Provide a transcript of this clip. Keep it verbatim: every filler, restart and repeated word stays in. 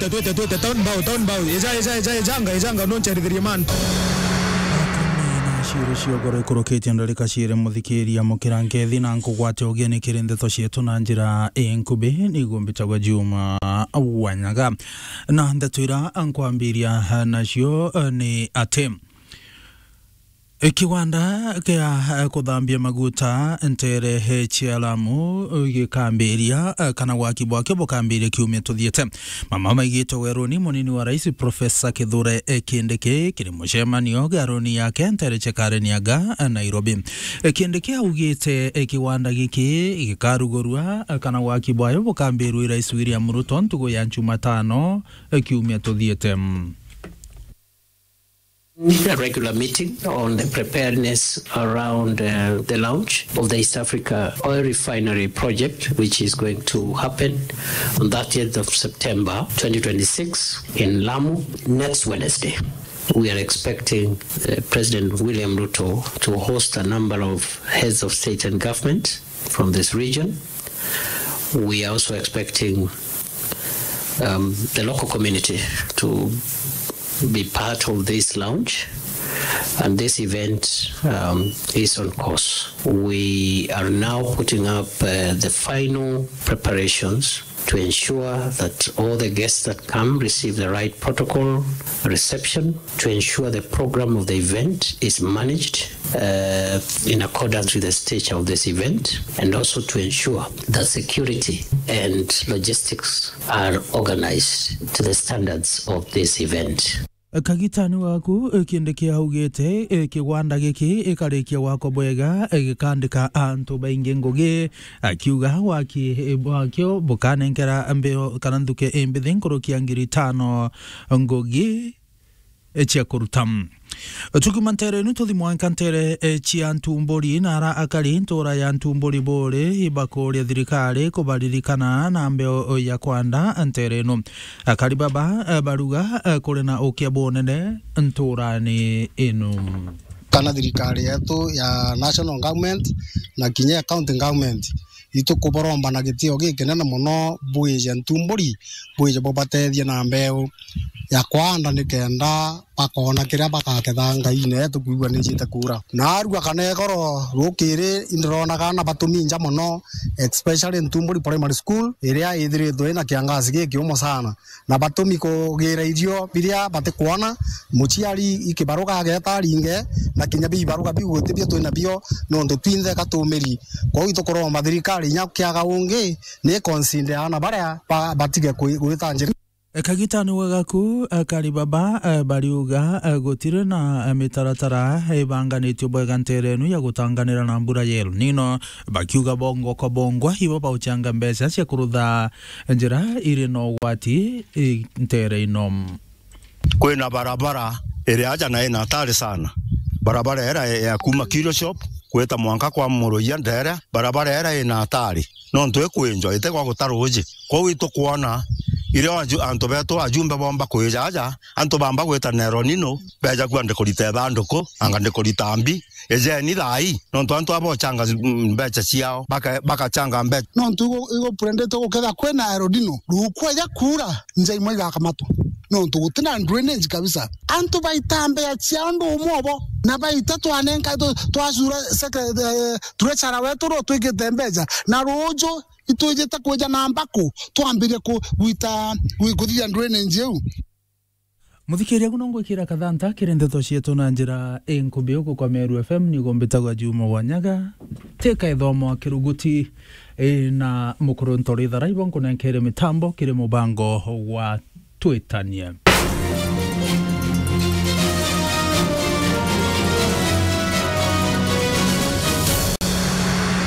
Twite, twite, town bow, town bow. Eja, eja, eja, ejanga, ejanga, no ncherithirie man. Akumi na ciiri cia ugoro ikurukitie ndarika ciiri, muthikiria, mukira nkethi na nkugwate ugeni kiri ndeto cietu na njira inkubi, niguo mbitagwa Juma Wanyaga. Na ndeto ira nkwambiria nacio, eh, ni ati, Kiwanda kia, eh, kuthambia maguta ntere, eh, cia Lamu, eh, gikambiria, eh, kana waki bwakio bukambiria kiumia tuthiete. Mama maigitwe weruni munini wa rais Professor Kithure, eh, Kindiki kiri mucemanio garuni yake ntere cia Kareniaga, eh, Nairobi. Eh, Kindiki augite, eh, kiwanda giki gikarugurua, eh, kana waki bwayo bukambirua i rais William Ruto ntugu ya Jumatano, eh, kiumia tuthiete. A regular meeting on the preparedness around, uh, the launch of the East Africa Oil Refinery Project, which is going to happen on thirtieth of September twenty twenty-six in Lamu next Wednesday. We are expecting, uh, President William Ruto to host a number of heads of state and government from this region. We are also expecting, um, the local community to be part of this launch, and this event, um, is on course. We are now putting up, uh, the final preparations to ensure that all the guests that come receive the right protocol reception, to ensure the program of the event is managed, uh, in accordance with the stature of this event, and also to ensure that security and logistics are organized to the standards of this event. Kagitani waku, eh, Kindiki augite, eh, kigwanda giki ikarikia gwakwa bwega, eh, gikandika antu baingi ngugi, akiuga waki, eh, bwakio bukanenkera mbeo kana nthuke imbithi nkuruki ya ngiri itano ngugi, eh, cia kuruta. Tukiuma ntere inu tuthi mwanka ntere, eh, cia Ntumburi, na ara akari ntura ya Ntumburi buri ibakuria thirikari kubaririkana na mbeo ya kwanda ntere inu. Akari baba, eh, baruga, eh, kuri na ukia bunene nturani inu. Kana thirikari yetu ya national government na kinya ya county government, itukubaromba na gitio gikinene mono bwije Ntumburi, bwije bubatethie na mbeu ya kwanda, nikenda bakona kiria bakaketha ngaine yetu kwigua ni ijite kuura. Narua kana igoro rukiri, indironaga na batumi nja mono, especially Ntumburi Primary School, iria ithiritwe ina kiangazi gikiumo sana, na batumi kugira irio biria batikwona, muciari ikibaruga ageta aringe, na kinya bibaruga biu guti bio twina bio, nontu twinthe ka tumiri. Kwou itukuromba thirikari inya kiaga ungi, ni consider aana baria ba-, batige kwi-, gwita njira. Kagitani wa gaku, akari baba, eh, bariuga, eh, gutiri na, eh, mitaratara ibanganitio bwega ntere inu ya gutanganira na mbura ya El Nino, bakiuga bongwa kwa bongwa ibo bauchanga mbeca cia kurutha njira iri na ugwati, i, ntere ino. Kwina barabara iri aja na ina hatari sana. Barabara ira ya kuma Kirio Shop gwita mwanka kwa Muruia Ndere, barabara ira ina hatari. Nontu ikwinjwa, itegwa guta ruuji. Kwou itukwona, irio aju-, antu betu ajumbe bomba kwija aja, antu bamba gwita na El Nino, beja kua ndikurita ithanduku, anga ndikurita mbi, ijeni thaai, nontu antu aba ochanga, mm, mbeca ciao, baka-, bakachanga mbeca. Nontu igu-, igupurendete guketha kwina El Nino, rukweja kuura, nja imwe igakamatwa. Nontu gutina drainage kabisa. Antu baita mbeca ciao ndu umwe obo, na baita twanenka, twa-, twacura secre-, eh, treasurer wetu ro twikite mbeca, na ruuju itwijite kwija na mbaku, twambirie ku-, gwita, gwi-, kuthithia drainage iu. Muthikiria, guno ngwikira kathanta kiri ndeto cietu na njira inkubi uku kwa Meru F M, niguo mbitagwa Juma Wanyaga. Tika ithomo kiruguti, ii, na mukuru Ntori Tharaibo nkunenkere mitambo kiri mubango wa Twitanie.